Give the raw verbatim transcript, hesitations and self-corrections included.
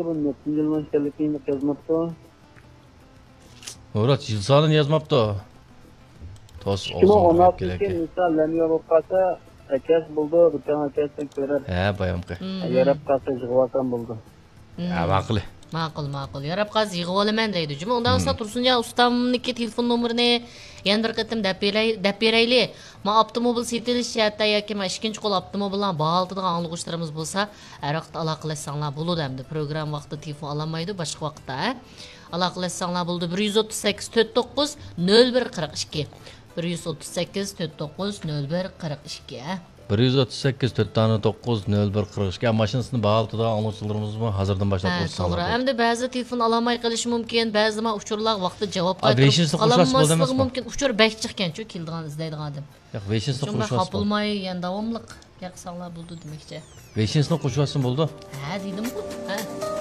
بۇ نەچچىنچى يىلنىڭ ئىكەنلىكىنى يازماپتۇ. مۇرات يىل سانىنى يازماپتۇ. توس ئىككى مىڭ ئون ئالتىنچى يىل مىسال لەنيا بولۇپ قالسا، ئەكەس بولىدۇ، بىر تەڭ ئەكەسنى كۆرەر. ھە، بايامقى. مم. ياراپ قالسا يىغىۋالسام بولىدۇ. مم. ھە، ماقۇل. ماقۇل، ماقۇل. ياراپ قالسا يىغىۋالىمەن دەيدۇ. جۇمۇ، ئۇنداق بولسا مم. تۇرسۇنجان ئۇستامنىڭكى تېلېفون نومۇرىنى يەنە بىر قېتىم دەپ بېرەي-، دەپ بېرەيلى. ما ئاپتوموبىل سېتىلىش جەھەتتە ياكى ما ئىككىنچى قول ئاپتوموبىللارنى باھالىتىدىغان ئاڭلىغۇچىلىرىمىز بولسا، ھەر ۋاقىت ئالاقىلەشسەڭلار بولىدۇ ئەمدى. پروگرامما ۋاقتىدا تېلېفون ئالالمايدۇ، باشقا ۋاقىتتا، ھە؟ ئالاقىلەشسەڭلار بولىدۇ. بىر يۈز ئوتتۇز سەككىز، تۆت توققۇز، نۆل بىر، قىرىق ئىككى. بىر يۈز ئوتتۇز سەككىز، تۆت توققۇز، نۆل بىر، قىرىق ئىككى، ھە؟ بىر يۈز ئوتتۇز سەككىز، تۆت دانە توققۇز، نۆل بىر، قىرىق ئىككى. ماشىنىسىنى باھالىتىدىغان ئاڭلىغۇچىلىرىمىزمۇ ھازىردىن باشلاپ ھە، قوشۇلساڭلار توغرا. بولىدۇ. ئەمدى بەزىدە تېلېفون ئالالماي قېلىشى مۇمكىن، بەزىدە ما ئۇچۇرلارغا ۋاقتىدا جاۋاب ئا، قايتۇرۇپ بېشىنىسىنى قوشۇۋاتسا بولدى قالالماسلىقى ئەمەسمۇ؟ مۇمكىن. ئۇچۇر بەك جىق ئىكەنچۇ، كېلىدىغان، ئىزدەيدىغان ئادەم. ياق، بېشىنىسىنى شۇڭا قوشۇۋاتسا بولدى. خاپىلماي، يەنە داۋاملىق ياقساڭلار بولىدۇ دېمەكچى. بېشىنىسىنى قوشۇۋاتسا بولدى. ھە، دېدىمغۇ. ھە.